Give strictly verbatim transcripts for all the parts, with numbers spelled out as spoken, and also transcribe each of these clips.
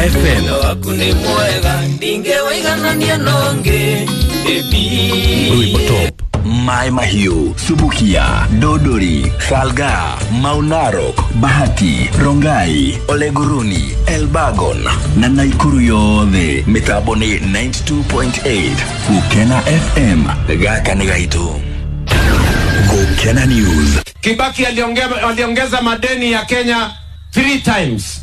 F M. Waku nĩ mwega ndingĩwĩiganania nongi Rwĩmbo top. Mai Mahiu, Subukia, Dodori, Salga, Maunarok, Bahati, Rongai, Oleguruni, Elbagon na Naikuru yothe. Mitambo ni ninety-two point eight Gukena F M. Gaka nĩ gaitũ. Gukena News. Kibaki aliongeza, aliongeza madeni ya Kenya three times.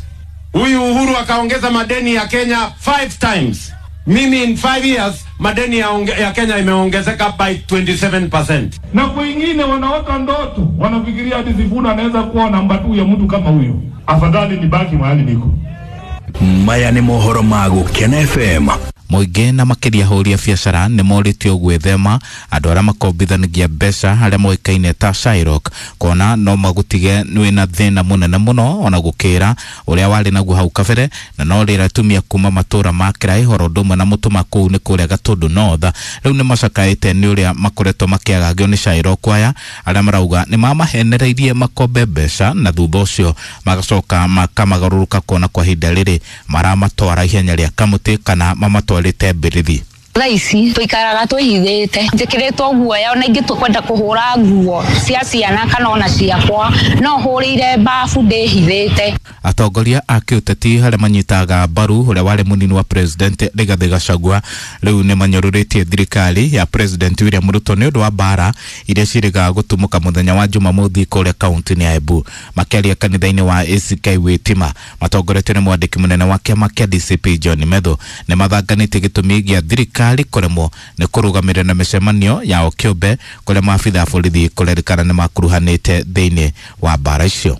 Huyu Uhuru akaongeza madeni ya Kenya five times. Mimi in five years madeni ya, onge, ya Kenya imeongezeka by twenty-seven percent. Na kwingine wanaota ndoto, wanafikiria hadi Sifuna anaweza kuwa namba two ya mtu kama huyo. Afadhali nibaki mahali niko. Maya ni mohoro ma Gukena F M. Mũingĩ na makĩria ahũri a biacara nĩ morĩtio gwĩthema andũ arĩa makombithanagia mbeca arĩa moĩkaine ta Shylock, kuona no magũtige wĩna thĩna mũnene mũno ona gũkĩra ũrĩa warĩ naguo hau kabere, na no rĩrĩa atumia kuma matũra ma Kĩraĩ horo ũndũ ũmwe na mũtũma kũu nĩ kũrĩa Gatũndũ North rĩu nĩ macakaĩte nĩ ũrĩa makoretwo makĩagagio nĩ Shylock aya arĩa marauga nĩ mamahenereirie makombe mbeca na thutha ũcio magacoka makamagarũrũka kuona kwa ihinda rĩrĩ maramatwara ihenya rĩa kamũtĩ kana mamatwarĩte mbĩrĩthi. Thaa ici tũikaraga twĩhithĩte, njĩkĩrĩtwo guoya ona ingĩtua kwenda kũhũra nguo cia ciana kana ona ciakwa no hũrĩire babu ndĩhithĩte. Atongoria a kĩũteti arĩa manyitaga mbaru ũrĩa warĩ mũnini wa President Rigathĩ Gachagua rĩu nĩ manyũrũrĩtie thirikari ya President William Ruto nĩ ũndũ wa mbara iria ciĩrĩgaga gũtumũka mũthenya wa Jumamothi kũrĩa kaunti-inĩ ya Embu. Makĩaria kanitha-inĩ wa A C K Witima matongoretio nĩ mwandĩki mũnene wa kĩama kĩa D C P John Methu nĩ mathanganĩtie gĩtũmi gĩa thirikari kũremwo nĩ kũrũgamĩrĩra na mĩcemanio yao kĩũmbe kũrĩa maabitha a borithi kũrerĩkana nĩ makuruhanĩte thĩinĩ wa mbara icio.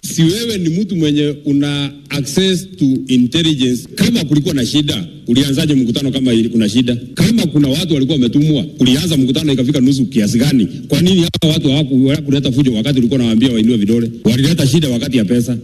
Si wewe ni mtu mwenye una access to intelligence. Kama kulikuwa na shida, ulianzaje mkutano kama kuna shida? Kama kuna watu walikuwa wametumwa, ulianza mkutano ikafika nusu kiasi gani? Kwa nini hawa watu hawakuleta fujo wakati ulikuwa unawaambia wainue vidole? Walileta shida wakati ya pesa.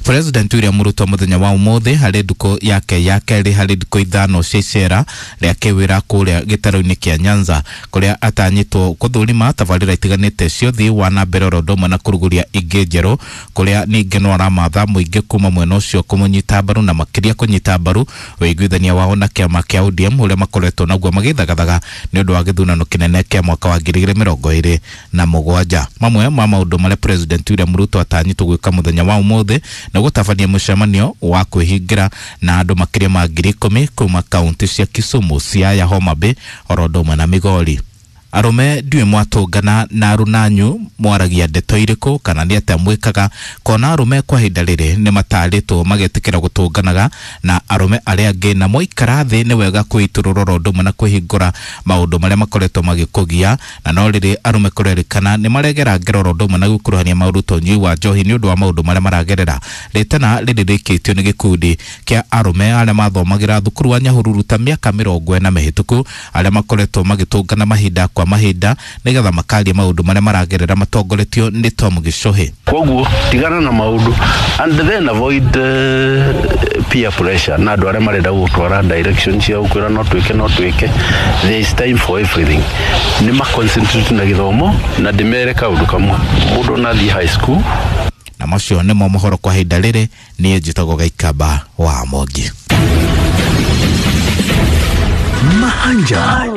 President William Ruto muthenya wa umuthi harĩ ndukũ yake ya kerĩ harĩ ndukũ ithano cia icera rĩa kĩwĩra kũrĩa gĩtarũ-inĩ kĩa Nyanza kũrĩa atanyĩtwo gũthũrima tabarĩra itiganĩte cia ũthii wa na mbere oro ũndũ ũmwe na kũrugũria ingĩ njerũ kũrĩa ningĩ no aramatha mũingĩ kuma mwena ũcio kũmũnyita mbaru na makĩria kũnyita mbaru ũiguithania wao na kĩama kĩa O D M ũrĩa makoretwo naguo magĩthagathaga nĩ ũndũ wa gĩthurano kĩnene kĩa mwaka wa ngiri igĩrĩ mĩrongo ĩrĩ na mũgwanja. Mamwe ma maũndũ marĩa President William Ruto atanyĩtwo gwĩka mũthenya wa ũmũthĩ na gũtabania mũcemanio wa kwĩhingĩra na andũ makĩria ma ngiri ikũmi kuma kaunti cia Kisumu, Siaya, Homa Bay oro ũndũ ũmwe na Migori. Arũme ndiũĩ mwatũngana na arũnanyu mwaragia ndeto irĩkũ kana nĩ atĩa mwĩkaga kona arũme kwa ihinda rĩrĩ nĩ matarĩtwo magetĩkĩra gũtũnganaga na arũme arĩa angĩ na mwaikara thĩ nĩ wega kwĩitũrũra oro ũndũ ũmwe na kwĩhingũra maũndũ marĩa makoretwo magĩkũgia, na no rĩrĩ arũme kũrerĩkana nĩ maregera ngero oro ũndũ ũmwe na gũkuruhania maũndũ ta ũnyui wa njohi nĩ ũndũ wa maũndũ marĩa maragerera. Rĩtana rĩrĩ rĩkĩtio nĩ gĩkundi kĩa arũme arĩa mathomagĩra thukuru wa Nyahururu ta mĩaka mĩrongo ĩna mĩhĩtũku arĩa makoretwo magĩtũngana mahinda kwa mahinda nĩgetha makaria maũndũ marĩa maragerera matongoretio nĩ Tom Gichohi. Koguo tigana na maũndũ and then avoid uh, peer pressure na andũ arĩa marenda gũtwara direction cia gũkwĩra no twĩke no twĩke. There is time for everything. Nĩ ma concentrate na gĩthomo na ndĩmere kaũndũ kamwe mũndũ ona athiĩ high school. Na macio nĩmo mohoro kwa ihinda rĩrĩ. Niĩ njĩtagwo Gaikamba wa Mongi. Mahanja.